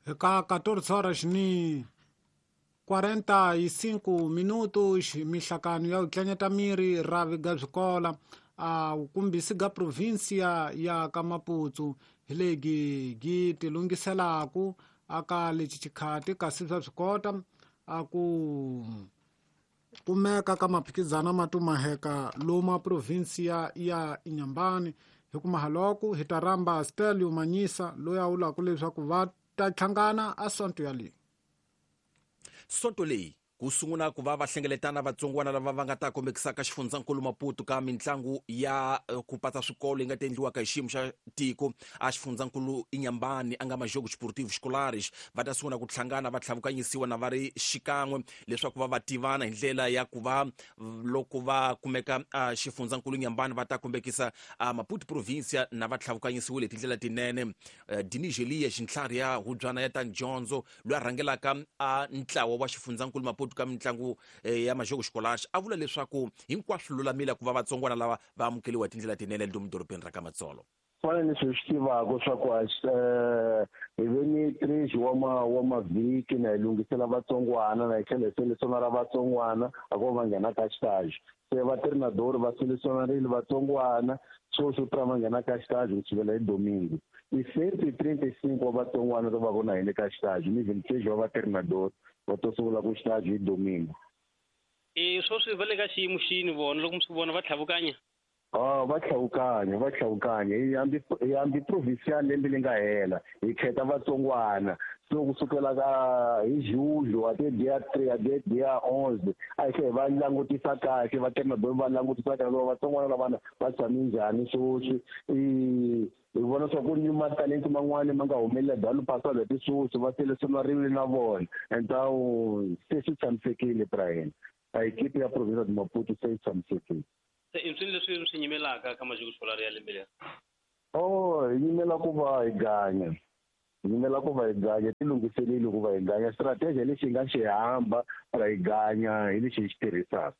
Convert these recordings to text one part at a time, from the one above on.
Ka 14 horas ni 45 minutos mihlakano ya utlanyeta miri ravi ga swikola a wukumbisi ga provinsia ya ka Maputo hi legi gi tilungiselaku aka lexi xikhati kasi swa swi kota a ku kumeka ka maphikizana ma tumaheka loma provinsia ya Inhambane. Hi ku mahaloko hi ta rhamba Stelio Manyisa loyi a vulaka leswaku va ta hlangana a sonto yaleyi. Sonto leyi ku sungula ku va va hlengeletana vatsongwana lava va nga ta kombekisaka xifundzankulu Maputo ka mitlangu ya ku patsa swikolo yi nga ta endliwaka hi xiyimo xa tiko a xifundzankulu Inhambane a nga Majogo Sportivo Escolares. Va ta sungula ku hlangana va tlhavukanyisiwa na va ri xikan'we leswaku va va tivana hi ndlela ya ku va loko va kumeka a xifundzankulu Inhambane va ta kombekisa a Maputo provincia na va tlhavukanyisiwile hi tindlela tinene. Diniz Elias ntlhari ya hubyana ya ta dyondzo loyi a rhangelaka a ntlawa wa xifundzankulu Maputo ka mitlangu ya Majogo Escolares a vula leswaku hinkwaswo lulamile ku va vatsongwana lava va amukeliwa hi tindlela tinene lomu dorobeni ra ka Matsolo. Fana ni swi tivaka swa ku hi ve ni 3 wa mavhiki na hi lunghisela vatsongwana na hi tlhela hi selesionara vatsongwana a ko va nghena ka xitaji. Se va treinador va selesionarile vatsongwana sweswo tra va nghena ka xitaji ku sukela hi domingo. I 135 wa vatsongwana va va na hina ka xitaji ni 26 wa va treinador va to sungula ku xitaji hi domingo. Sweswi va le ka xiyimo xini vona loko mi swi vona va tlhavukanya? Va tlhavukanya. Hi hambi provincial lembe leri nga hela hi khetha vatsongwana. So kusukela ka hi julho a te dia 3 a te dia 11 a hi tlhela va langutisa kahle va treinador va langutisa kahle loko vatsongwana lavana va tshame njhani sweswi. Hi vona swa ku ni matalenti man'wani ma nga humelela dalo pasalo hi sweswi va selesionariwile na vona. Então se swi tshamisekile Brian. A equipe ya provincia de Maputo se yi tshamisekile. Se i swilo leswi swi nyimelaka ka Majogo Escolar ya lembe leri? Hi nyimela ku va hi ganya. Hi nyimela ku va hi ganya, ti lunghiseleli ku va hi ganya. Strategy lexi hi nga xi hamba ra hi ganya hi lexi hi xi tirhisaka.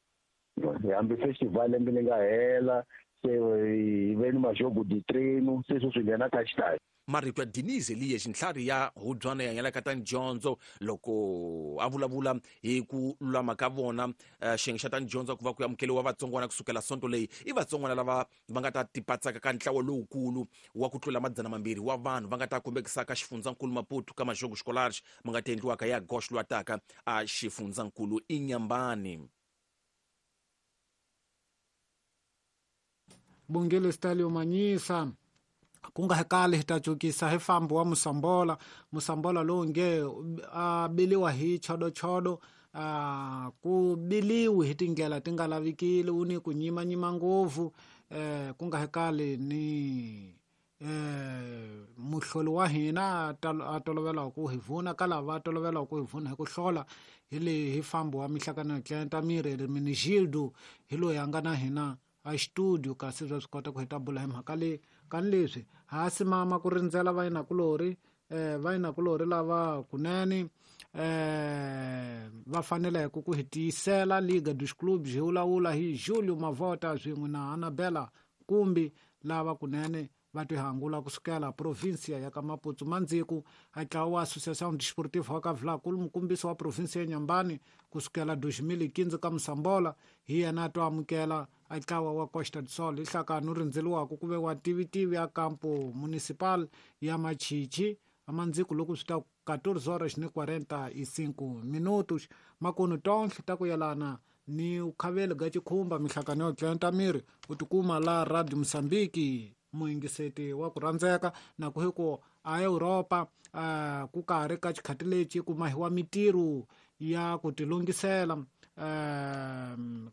Hi hambi festival lembe leri nga hela, se hi ve ni Majogo de treino, se sweswi hi nghena ka xitaji. Marito ya Diniz Elias ntlhari ya hubyana ya yena ka ta dyondzo loko a vulavula hi ku lulama ka vona xiyenge xa ta dyondzo ku va ku amukeliwa vatsongwana kusukela sonto leyi i vatsongwana lava va nga ta tipatsaka ka ntlawa lowukulu wa ku tlula 200 wa vanhu va nga ta kombekisaka xifundzankulu Maputo ka Majogo Escolares ma nga ta endliwaka ya Gosh lwataka a xifundzankulu Inhambane. Bongile Stalio Manyisa ku nga kale hi ta cukisa hi fambo wa Musambola. Musambola lowu nge a biliwa hi chodochodo, ku biliwi hi tindlela ti nga lavikile, wu ni ku nyimanyima ngopfu. Ku nga kale ni muhloli wa hina a tolovela ku hi vuna ka lava tolovela ku hi vuna hi ku hlola hi le hi fambo wa mihlakano ya tlenta miri Hermenegildo hi loyi a nga na hina a studio kasi swa swi kota ku hi ta bula hi mhaka leyi. Kani leswi ha simama ku rindzela vayinakulori, vayinakulori lava kunene va faneleke ku hi tiyisela Liga dos Clubes hi vulavula hi Julio Mavota swin'we na Anabela Kumbi lava kunene va tihangula kusukela provinsia ya ka Maputo. Mandziku a ntlawa wa Associação Desportiva wa ka Vilankulu mukumbisi wa provinsia ya Inhambane kusukela 2015 ka Musambola hi yena a to amukela a ntlawa wa Costa do Sol. Hi nhlakano rindzeliwaka ku ve wa tivitivi ya Campo Municipal ya Machichi amandziku loko swi ta 14 horas ni 45 minutos. Makunu tonhle ta ku yelana ni ukhaveli ga chikhumba mihlakano yo tlenta miri u tikuma la Radio Mozambique muyingiseti wa ku rhandzeka na ku hi ku a Europa ku karhi ka xikhati lexi ku mahiwa mitirho ya ku tilungisela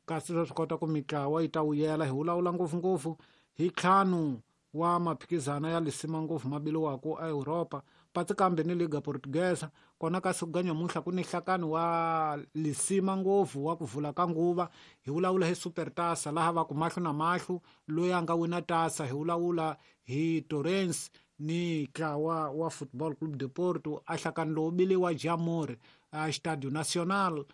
kasi swa swi kota ku mitlawa yi ta wuyela. Hi vulavula ngopfungopfu hi ntlhanu wa maphikizana ya lisima ngopfu ma biliwaka a Europa patsi kambe ni Liga Portuguesa kona kasi ku nyamuntlha ku ni nhlakano wa lisima ngopfu wa ku vula ka nguva. Hi vulavula hi Super Tasa laha va ku mahlo na mahlo loyi a nga wina tasa. Hi vulavula hi Torrens ni ntlawa wa Football Club de Porto a nhlakano lowu biliwa Jamor a Estadio Nacional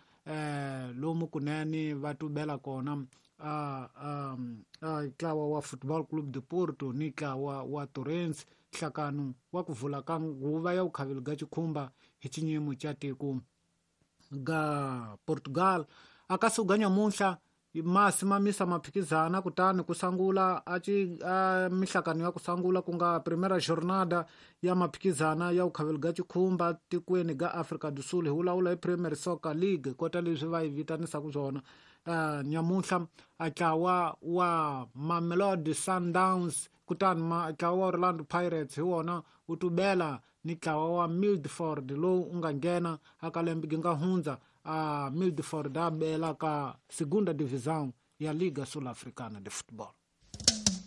lomu kunene va tubela kona ntlawa wa Football Club de Porto ni ntlawa wa Torrens, nhlakano wa ku vula ka nguva ya vukhaveli ga chikhumba hi xinyimo xa tiko ga Portugal. Akasuka nyamunhla masi mamisa maphikizana, kutani ku sangula a mihlakano ya ku sangula ku nga primera jornada ya maphikizana ya vukhaveli ga chikhumba tikweni ga Afrika do Sul, hi vulavula hi Premier Soccer League kota leswi va yi vitanisaka swona. Nyamunhla a ntlawa wa Mamelodi Sundowns kutani ntlawa wa Orlando Pirates hi wona wu tubela ni ntlawa wa Milford lowu u nga nghena aka lembe gi nga hundza. A Milford a bela ka segunda divisão ya Liga Sul-Africana de Futebol.